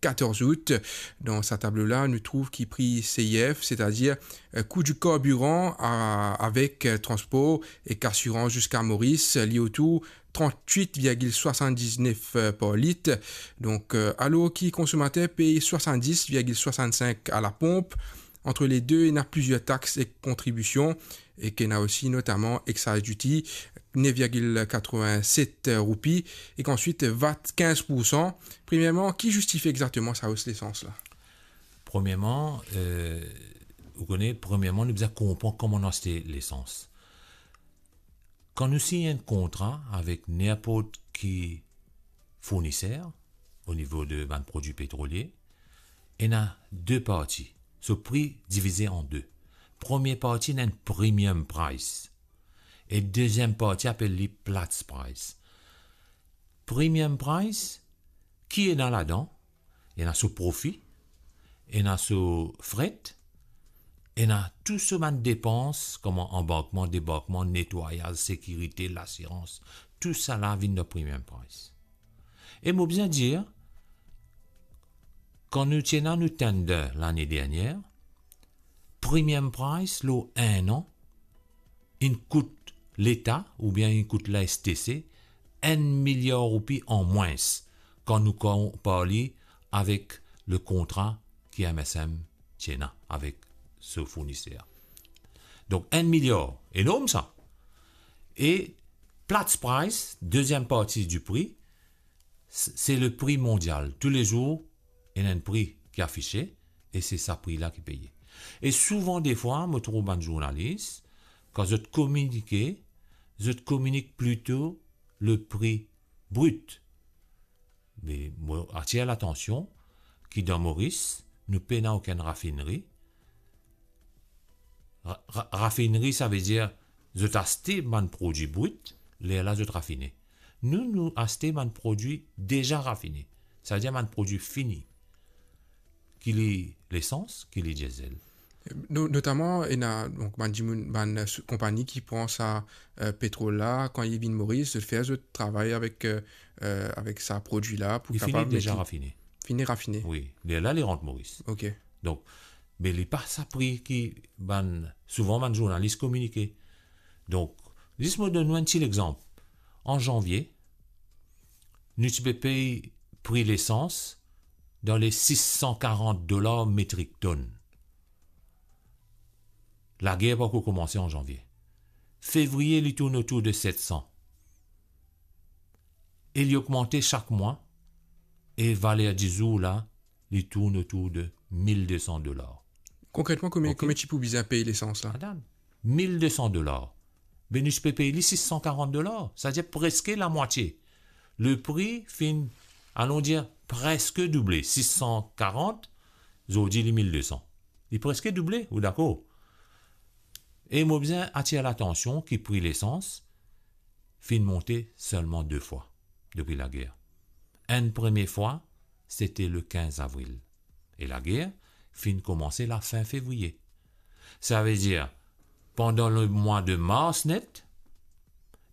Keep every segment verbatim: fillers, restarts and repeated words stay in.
katorz out. Dan sa tablo la, nou trouv ki pri C I F, setadir, eh, kou di karbiran a-, avek, eh, transpor ek asirans ziska Moris, li otour trant-wit virgil swasann-diznef, eh, par lit. Donk, eh, alor ki konsomater pey swasann-dis virgil swasann-sink a laponp, ant le de, ena plizier tax ek kontribision, ek ena osi notaman excise duty, nef virgil katrevin-set roupi, ek answit vat kinz poursan. Premierman, ki zistifie exakteman sa os lesans la? Premierman, eh, ou kone, premierman, nou bizin konpran kouma nou aste lesans. Kan nou sign enn kontra avek ninport ki fourniser o nivo de bann prodwi petrolie, ena de parti. So pri divize an de. Premie parti ena enn premium price. E deziem parti apel li Platts price. Premium price, ki ena ladan? Ena so profi, ena so fret, ena tou so bann depans, kouma anbarkman, debarkman, netwayaz, sekirite, lasirans, tou sa la vinn dan premium price. E mo bizin dir, kan nou ti ena nou tender lane dernier, premium price lor enn an, inn kout Leta oubien inn kout la S T C enn miliar roupi an mwins kan nou konpar li avek le kontra ki M S M ti ena avek so fourniser. Donk, enn miliar, enorm sa. E Platts price, deziem parti di pri, s-, se le pri mondial. Toulezour, ena enn pri ki afise, e se sa pri la ki peye. E souvan defwa, mo trouv bann zournalis, kan zot kominike, zot kominik plito le pri brit. Me mo atir latansion ki dan Moris, nou pena okenn rafineri. Ra-, ra-, rafineri, savedir zot aste bann prodwi brit, lerla zot rafine. Nou, nou aste bann prodwi deza rafine, savedir bann prodwi fini, ki li lesans, ki li diesel. No-, notaman, ena, donk, bann dimoun, bann, eh, sou-, konpani ki pran sa, eh, petrol la, kan li vinn Moris, zot fer zot travay avek, eh, eh, avek sa prodwi la pou Li fini kapav met deza li rafine. Fini rafine. Wi, lerla li rant Moris. Ok. Donk, me li pa sa pri ki bann, souvan bann zournalis kominike. Donk, zis mo donn nou enn ti lexanp. An zanvie, nou ti pe pey pri lesans dan le sis san karant dolar metrik tonn. Lager pa ankor koumanse an zanvie. Fevriye, li tourn otour de set san. E li ogmante sak mwa, e valer di zour la, li tourn otour de mil de san dolar. Konkretman, komie, Ok. komie ti pou bizin pey lesans la? Atann, mil de san dolar. Be nou ti pe pey li sis san karant dolar, savedir preske lamwatie. Le pri finn, alon dir, preske double, sis san karant, zordi li mil de san. Li preske double, ou dakor? E mo bizin atir latansion ki pri lesans finn monte selman de fwa depi lager. Enn premie fwa, sete le kinz avril. E lager finn koumanse lafin fevriye. Savedir, pandan lemwa de mars net,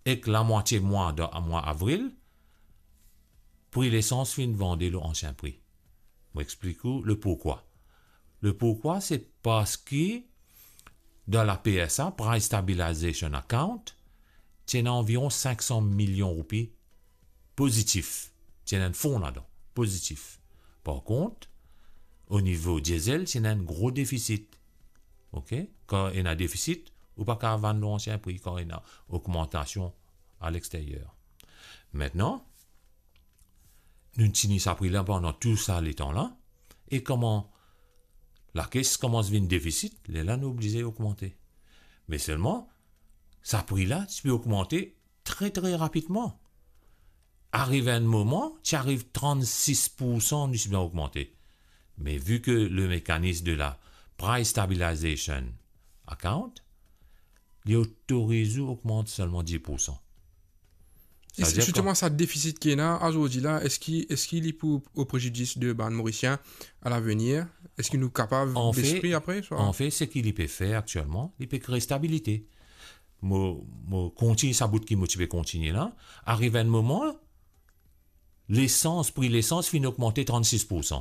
ek lamwatie mwa dan mwa avril, pri lesans finn vande lor ansien pri. Mo explik ou le pourkwa. Le pourkwa, se parski dan la P S A, Price Stabilization Account, ti ena anviron sink san milion roupi pozitif. Ti ena enn fon ladan, pozitif. Par kont, o nivo diesel, ti ena enn gro defisit. Ok? Kan ena defisit, ou pa kapav vann lor ansien pri kan ena ogmantasion a lexteryer. Aster, nou tini sa pri la pandan tou sa letan la, e kouma lakes koumans vinn defisit, lerla nou oblize ogmante. Me selman, sa pri la ti pe ogmante tre, tre rapidman. Ariv enn moman, ti ariv trannsis poursan nou ti bizin ogmante. Me vi ke le mekanis de la Price Stabilization Account, li otoriz ou ogmant selman dis poursan. E Savedir zisteman, sa defisit ki ena azordi la, eski, eski li pou o prezidis de bann Morisien a lavenir? Eski nou kapav Anfet, bes pri apre, swa? Anfet, seki li pe fer aktielman, li pe kre stabilite. Mo, mo kontign sa bout ki mo ti pe kontigne la. Ariv enn moman, lesans, pri lesans finn ogmante trannsis poursan.